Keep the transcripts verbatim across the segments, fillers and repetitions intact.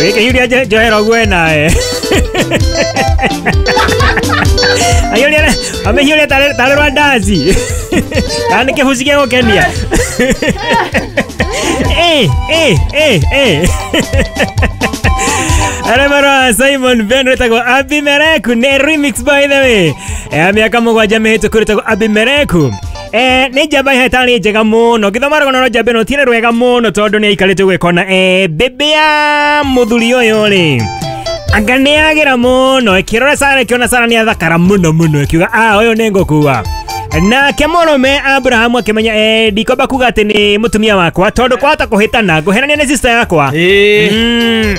Gĩkĩhiũria njohero ũguo nawe. Ahiũria amĩhiũria tarĩ tarĩ rwa ndaci. Kana nĩ kĩbuci gĩa gũkenia. Eh, eh, eh, eh. Aremara Simon Ben wĩtagwo Abimereku nĩ remix by the way. Eh, mĩaka mũgwanja mĩhĩtũku wĩtagwo Abimereku. Eh, nĩ njamba ĩtarĩ njega mũno ngĩthoma rũgano rwa njamba ĩno tirĩ rwega mũno tondũ nĩ aikarĩte gwĩkona eh, bĩbĩ ya mũthuri ũyũ rĩ anga nĩ agĩra mũno ĩkĩrora Sara ĩkĩona Sara nĩ athakara mũno mũno ĩkiuga ah ũyũ nĩ ngũkua. Nake mũrũme Abrahamu akĩmenya eh, ndikwamba kuga atĩ nĩ mũtumia wakwa tondũ kwahota kũhĩtana ngũhenania nĩ sister yakwa. Mm.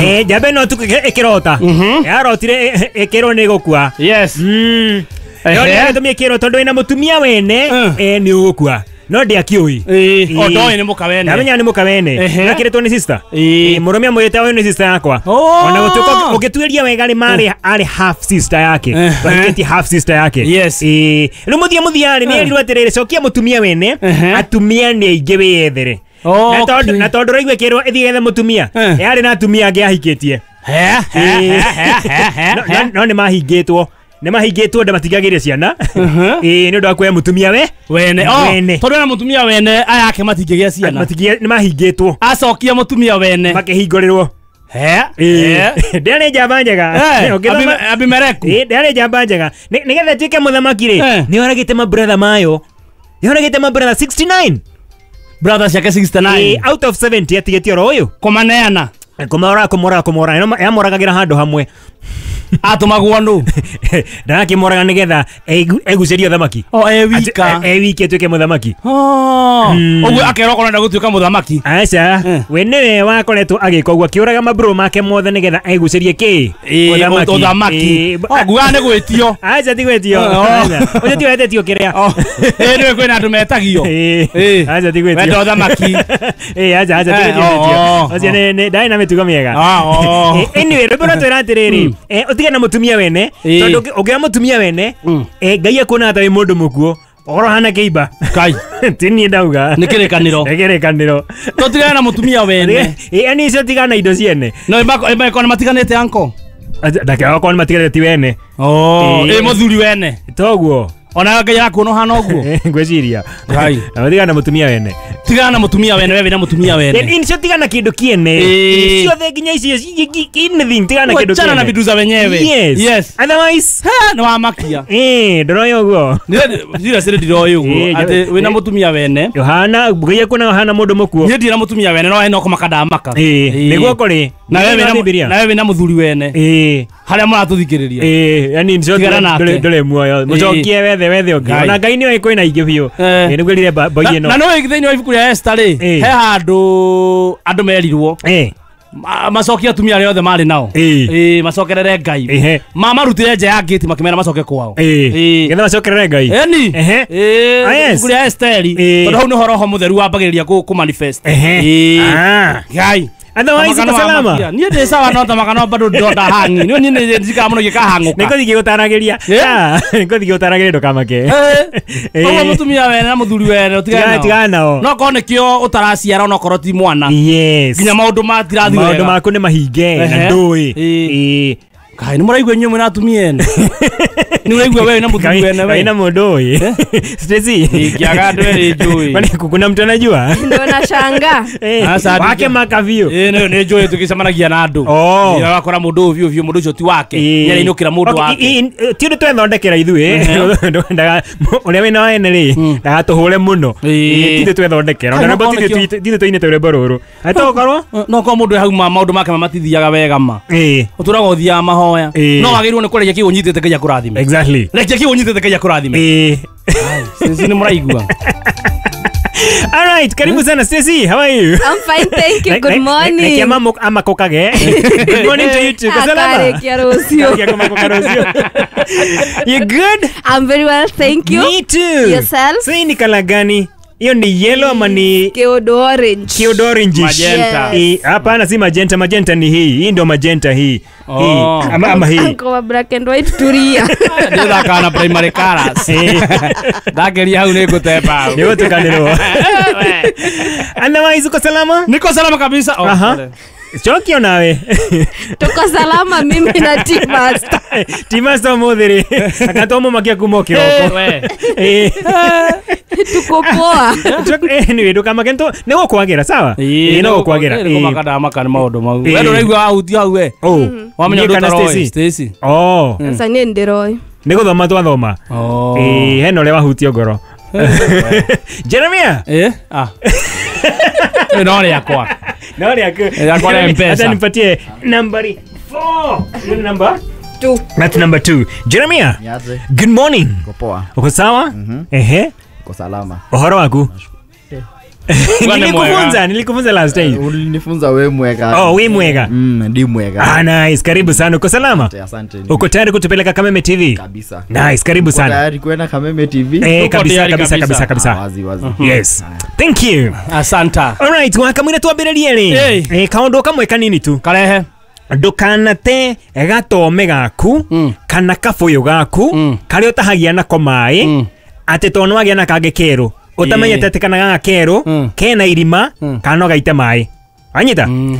Eh, njamba ĩno tu ĩkĩrota yarotire ĩkĩrwo nĩ gũkua. Yes. Mm. No nĩ gĩtũmi ĩkĩrwo tondũ ĩna mũtumia wene eh, nĩ ũgũkua no ndiakĩũĩ. Ĩĩ, o ndoĩ nĩ mũka wene. Ndamenya nĩ mũka wene. Nakĩrĩtwo nĩ sister. Ĩĩ. Mũrũme amwĩrĩte ũyũ nĩ sister yakwa. Ona gũtuĩka ũngĩtuĩria wega rĩ marĩ arĩ half sister yake. Bahikĩtie half sister yake. Yes. Ĩĩ. Rĩu mũthia mũthia rĩ nĩ erirwo atĩrĩrĩ cokia mũtumia wene atumia nĩ aingĩ wĩyethere. Na tondũ na tondũ ũraigua ĩkĩrwo ĩthiĩ gethe mũtumia yarĩ na atumia angĩ ahikĩtie. No nĩ mahingĩtwo. Nĩ mahingĩtwo nda matingagĩire ciana. Ĩĩ nĩ ũndũ wa kuoya mũtumia we wene. Wene. Tondũ ena mũtumia wene aya ake matingĩgĩa ciana. Nĩ mahingĩtwo. Acokia mũtumia wene. Makĩhingũrĩrwo. He. Ndĩarĩ njamba njega. Abimereku. Ĩĩ ndĩarĩ njamba njega. Nĩgetha ĩtuĩke mũthamaki rĩ nĩ oragĩte mabrother mayo. Nĩ oragĩte mabrother sixty-nine. Brother ciake sixty-nine. Out of seventy atigĩtie oro ũyũ. Kũmaneana. Kũmora kũmora kũmora yamoragagĩra handũ hamwe. Atũmagwo nũ? Ndarakĩmoraga nĩgetha egucĩrie ũthamaki. O e wika. E wiki atuĩke mũthamaki. Ũguo akerwo okorwo enda gũtuĩka mũthamaki. Aca, we nĩwe wakoretwo agĩka ũguo akĩũraga mabro make mothe nĩgetha egucĩrie kĩ? Ũthamaki. O ngugaga nĩ gwĩtio. Aca ti gwĩtio. Ũcio tiwe wetĩtio kĩrĩa. Ĩĩ nĩwe kwĩna andũ metagio. Aca ti gwĩtio. Wenda ũthamaki. Ĩĩ aca aca ti gwĩtio. Ũcio nĩ ndarĩ na mĩtugo mĩega. Anyway, rwĩmbo rwatwĩra atĩrĩrĩ ũtige na mũtumia wene tondũ ũngĩoya mũtumia wene Ngai akuonaga ta wĩ mũndũ mũkuũ ũkorwo hana kĩimba. Kai. Ti niĩ ndauga. Nĩ kĩrĩkanĩro. Nĩ kĩrĩkanĩro. Tũtigane na mũtumia wene. Ĩĩ yani icio tigana na indo ciene. No ĩmakorwo nĩ matiganĩte anko. Ndakĩokorwo nĩ matiganĩte ti wene. Oh, ĩ mũthuri wene. Toguo. Ona Ngai arakuona ũhana ũguo. Ngwĩciria. Ngai. Tigana na mũtumia wene. Tigana na mũtumia wene we wĩna mũtumia wene. Icio tigana kĩndũ kĩene. Ciothe nginya icio anything tigana kĩndũ kĩene. Wachana na vitu za wenyewe. Yes. Yes. Otherwise nĩ wamakia. Eh, ndũroĩ ũguo. Ndirĩ siri ndiroĩ ũguo atĩ wĩna mũtumia wene. Ũhana Ngai akuona ũhana mũndũ mũkuũ. Niĩ ndirĩ na mũtumia wene no no kũmaka ndamaka. Ĩĩ, nĩguo kũrĩ. Na wewe wĩna na wewe wĩna mũthuri wene. Ĩĩ. Harĩa mũratũthikĩrĩria. Ĩĩ, yani ndũrĩ ndũrĩ muoyo. Mũcokie wethe wethe ũngĩ. Ona Ngai nĩoĩ kwĩna ingĩ biũ. Ĩĩ nĩngwĩrire boy ĩno. Na nĩũĩ thĩinĩ wa ibuku rĩa Esther rĩ, he handũ andũ merirwo. Ĩĩ. Macokie atumia arĩa othe marĩ nao. Ĩĩ, macokerere Ngai. Mamarutire nja ya gate makĩmera macoke kwao. Ĩĩ. Getha macokerere Ngai. Ĩni. Ĩĩ. Ibuku rĩa Esther tondũ hau nĩho roho mũtheru wambagĩrĩria kũ manifest. Ĩĩ. Ngai. Otherwise uko salama. Niĩ ndĩ sawa no tamaka no bado ndonda hangi. Niĩ niĩ njikaga mũno gĩkahang'ũka. Nĩngũthiĩ ngĩgũtaragĩria. Nĩngũthiĩ ngĩgũtaragĩria ndũkamake. Ũguo mũtumia wene na mũthuri wene ũtigane nao. Tigana nao. No korwo nĩkĩo ũtaraciara onokorwo ti mwana. Yes. Nginya maũndũ matirathiĩ wega. Maũndũ maku nĩ mahinge na ndũĩ. Ĩĩ. Kai nĩ mũraigua inyuĩ mwĩna atumia ene. Nĩ ũraigua wewe na mũthuri wene we. Na mũndũ ũyũ. Stacy. Ingĩaga andũ erĩ njũĩ. Kwani kuna mtu anajua? Ndio nashangaa. Wake makavio. Eh nĩ njũĩ tũgĩcemanagia na andũ. Ũgakora mũndũ ũyũ biũ biũ mũndũ ũcio ti wake. Nĩarainũkĩra mũndũ wake. Ti ũndũ twethondekera ithuĩ. Ũrĩa wĩna wene rĩ ndagatũhũre mũno. Ti ithuĩ twethondekera. Ona rwĩmbo ti ithuĩ tũinĩte rwĩmbo rũrũ. Atokorwo? No korwo mũndũ hau maũndũ make matithiaga wega ma. Ũtũraga ũthiaga mahoya. No wagĩrĩirwo nĩ kũrekia kĩu ũnyitĩte Ngai akũrathime. Exactly. Rekia kĩu ũnyitĩte Ngai akũrathime. Eh. Stacy nĩ mũraigua. All right, karibu sana Stacy. How are you? I'm fine, thank you. Good morning. Rekia mama amakokage. Good morning to you too. Salama. Akarekia rũciũ. You good? I'm very well, thank you. Me too. Yourself? Sasa ni kala gani? Hiyo ni yellow ama ni kiodo orange? Kiodo orange. Magenta. Yes. Hapana, si magenta, magenta ni hii. Hii ndio magenta hii. Oh. Hii. Ama, ama hii. Anko black and white turia. Ndithakaga na primary colors. Ndageria hau nĩngũtemba. Nĩgũtukanĩrwo. Otherwise uko salama? Niko salama kabisa. Oh, Aha. Cokio nawe. Tuko salama mimi na T-Master. T-Master muthiri. Akatomo makia kuma kiroko. We. Eh. Tuko poa. Anyway, ndukamake ntu nĩ gũkwagĩra sawa? Ĩĩ no gũkwagĩra. Nĩ kũmaka ndamaka nĩ maũndũ mau. Ĩĩ. We ndũraigua wahutia hau we. Oh. Wamenya Niĩ ũndũ kana ũtaroĩ. Stacy? Stacy. Oh. Sasa niĩ ndĩroĩ. Nĩ gũthoma twathoma. Oh. Ĩĩ hena ũrĩa wahutio ngoro. Jeremia. Eh? Ah. Ĩ no rĩakwa. No rĩaku. Rĩakwa rĩa M-Pesa. Acha nipatie nambari four. Hiyo ni number? Two. That's number two. Jeremia. Niaje? Good morning. Uko poa? Uko sawa? Ehe. Uko salama? Uhoro waku? Bwana Nilikufunza, nilikufunza last time. Ulinifunza we mwega. Oh, we mwega. Mm, ndi mwega. Ah, nice. Karibu sana. Uko salama? Asante, asante. Uko tayari kutupeleka Kameme T V? Kabisa. Nice, karibu Uko sana. tayari kwenda Kameme T V? Eh, Uko kabisa tayari kabisa kabisa. kabisa Ah, kabisa. wazi wazi. Yes. Thank you. Asanta. All right, wakamwira twambĩrĩrie rĩ. Hey. Eh, kaũndũ kamwe kanini tu. Karehe. Ndũkanate gatome gaku Mm. kana kabũyũ gaku Mm. karĩa ũtahagia nako maĩ Mm. atĩ tondũ nĩwagĩa na kangĩ kerũ ũtamenyete atĩ kana gaka kerũ Mm. kena irima Mm. kana no gaite maĩ wanyita Mm.